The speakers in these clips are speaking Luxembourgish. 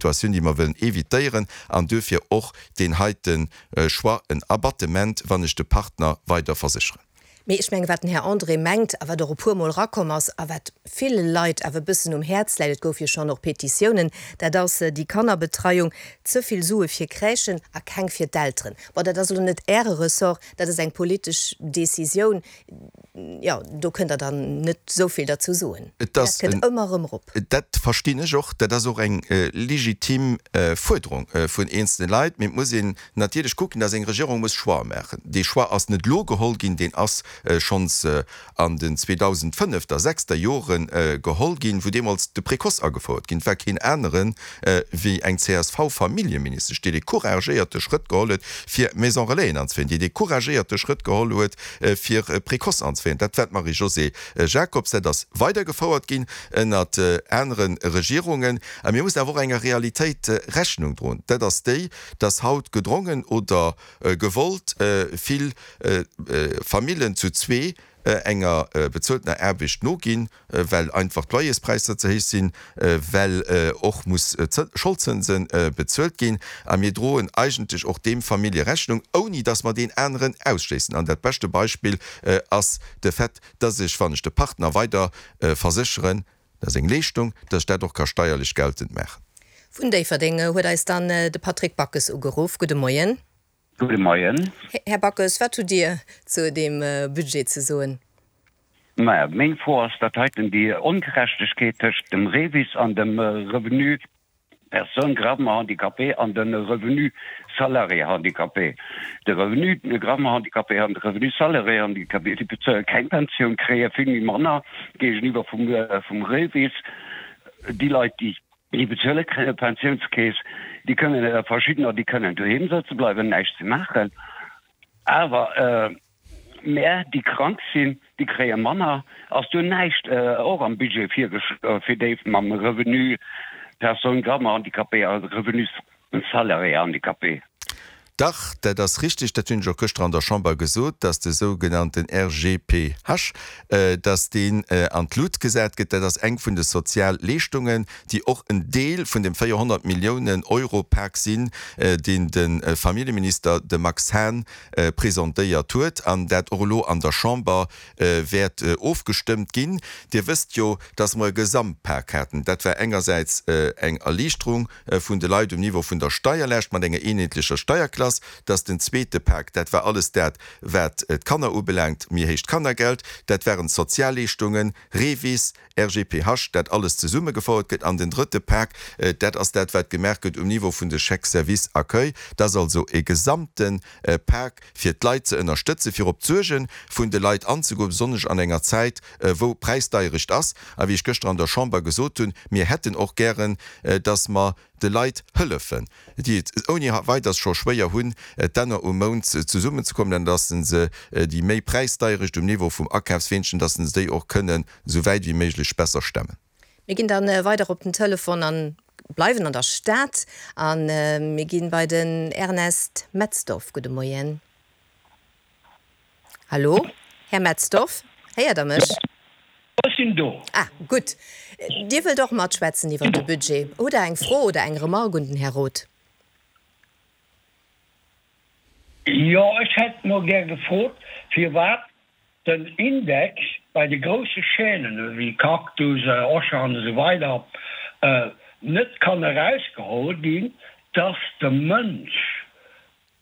Situatioun, déi mer wëllen évitéieren, an duerfir och deen heite Choix, en Abattement, wann ech de Partner weider versécheren. Mee ech mengen, wat den Här André mengt a wat och e puermol erakomm ass a wat ville Leit awer e bëssen um Häerz läit, et gouf jo schonn och Petitiounen, dat ass déi Kannerbetreiung, ze vill Sue fir Crèchen a keng fir d'Elteren. Bon, dat ass elo net Äre Ressort, dat ass eng politesch Décisioun. Jo, do kënnt Der dann net esou vill derzou soen. Et ass Dat kënnt ëmmer erëm erop. Dat verstinn ech och. Dat ass och eng legitim Fuerderung vun eenzelne Leit. Mee et muss een natierlech kucken, dass eng Regierung muss Choixë maachen. Dee Choix ass net elo geholl ginn, deen ass schonns an den 2005 er, sechster Jore geholl ginn, wou deemools de Précoce agefouert ginn. Et war keen anere wéi eng CSV-Familljeministesch, déi dee couragéierte Schrëtt geholl huet, fir Maison-relaisen anzeféieren, déi dee couragéierte Schrëtt geholl huet, fir Précoce anzeféieren. Dat war d'Marie-Josée Jacobs. Dat ass weidergefouert ginn ënnert anere Regierungen. A mir mussen awer och enger Realitéit Rechnung droen. Dat ass déi, dass haut gedrongen oder gewollt vill Famillen zu zwee enger bezueltener Aarbecht noginn, well einfach d'Loyerspräisser ze héich sinn, well och muss Scholdzënse bezuelt ginn. A mir droen eigentlech och deem Famillje Rechnung, ouni dass mer deen aneren ausschléissen. An dat beschte Beispill ass de Fait, dass ech, wann ech de Partner weider versécheren, dat ass eng Leeschtung, dass ech dat och ka steierlech geltend maachen. Vun Déifferdeng huet eis dann de Patrick Backes ugeruff. Gudde Moien. Gudde Moien. Här Backes, wat hutt Dir zu deem Budget ze soen? Maja, meng Fro ass dat heiten, déi Ongerechtegkeet tëscht dem REVIS an dem Revenu personne gravement handicapée an de Revenu salarié handicapé. De Revenu gravement handicapé an de Revenu salarié handicapé, déi bezuele keng Pensioun, kréie vill méi manner géigeniwwer vum REVIS. Déi Leit, déi Déi bezuele Pensiounskeess, déi kënnen, verschiddener, déi kënnen doheem sëtze bleiwen, näischt ze maachen. Awer mär, déi krank sinn, déi kréie manner. Ass do näischt och am Budget virgeschloen fir déi mam Revenu personne gravement handicapée a Revenu Salarié handicapé? Dach, dat ass richtig, dat hunn ech och gëschter an der Chamber gesot, dass de sougenannten RGPH, dass deen an d'Lut gesat gëtt. Dat ass eng vun de Sozialleeschtungen, déi och en Deel vun dem 400 Milliounen Euro Pak sinn, deen de Familljeminister, de Max Hahn, presentéiert huet an dat och elo an der Chamber wäert ofgestëmmt ginn. Dir wësst jo, dass mer e Gesamtpak haten. Dat war engersäits eng Erliichterung vun de Leit um Niveau vun der Steierlaascht mat enger eenheetlecher Steierklass, dass den zweete Pak, dat war alles dat, wat d'Kanner ubelaangt, méi héicht Kannergeld, dat waren d'Sozialleeschtungen, REVIS, RGPH, dat alles zesummegefouert gëtt. An den drëtte Pak, dat ass dat, wat gemaach gëtt um Niveau vun de Chèques service accueil. Dat ass also e gesamte Pak, fir d'Leit ze ënnerstëtzen, fir op d'Suerge vun de Leit anzegoen, besonnesch an enger Zäit, wou Präisdeierecht ass. A wéi ech gëschter an der Chamber gesot hunn, mir hätten och gären, dass mer de Leit hëllefen, déi et ouni Weiders scho schwéier hunn, d'Enner um Mount zesummenzekommen, an dass se déi méi Präisdeierecht um Niveau vum Akafsweenchen, dass se déi och kënnen esou wäit wéi méiglech besser stemmen. Mir ginn dann weider op den Telefon an bleiwen an der Stad an mir ginn bei den Ernest Metzdorf. Gudde Moien. Hallo, Här Metzdorf, héiert Der mech? Ech sinn do. Ah, gutt. Dir wëllt och matschwätzen iwwert de Budget. Hutt Der eng Fro oder eng Remarque un den Här Roth? Jo, ech hätt no gär gefrot, firwat den Index bei de grousse Chaînen ewéi Cactus, Auchan esou weider net kann erausgeholl ginn, dass de Mënsch,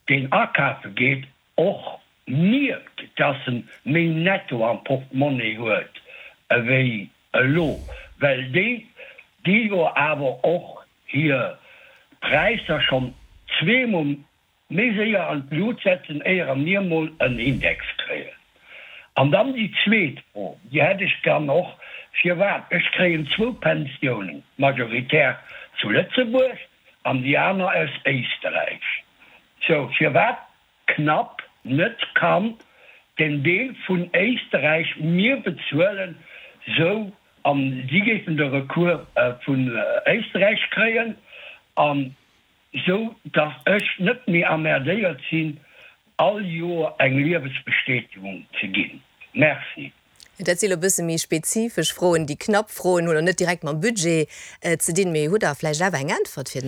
deen akafe geet, och mierkt, dass en méi Netto am Portemonnaie huet ewéi elo, well déi gi jo awer och hir Präisser schonn zweemol méi séier an d'Lut setzen, éier mir mol en Index kréien. An dann déi zweet Fro, déi hätt ech dann och, Firwat, ech kréien zwou Pensiounen, majoritär zu Lëtzebuerg an déi aner aus Éisterräich, sou firwat knapp net kann den Deel vun Éisterräich mir bezuelen, sou an si géifen de Recours vun Éisterräich kréien an sou dass ech net méi emmerdéiert sinn all Joer eng Liewesbestätegung ze ginn. Merci. Dat si lo bësse méi spezifesch Froen. Déi knapp Froen hunn och net direkt mam Budget ze dinn. Mee hutt Der vläicht awer eng Äntwert fir den Här.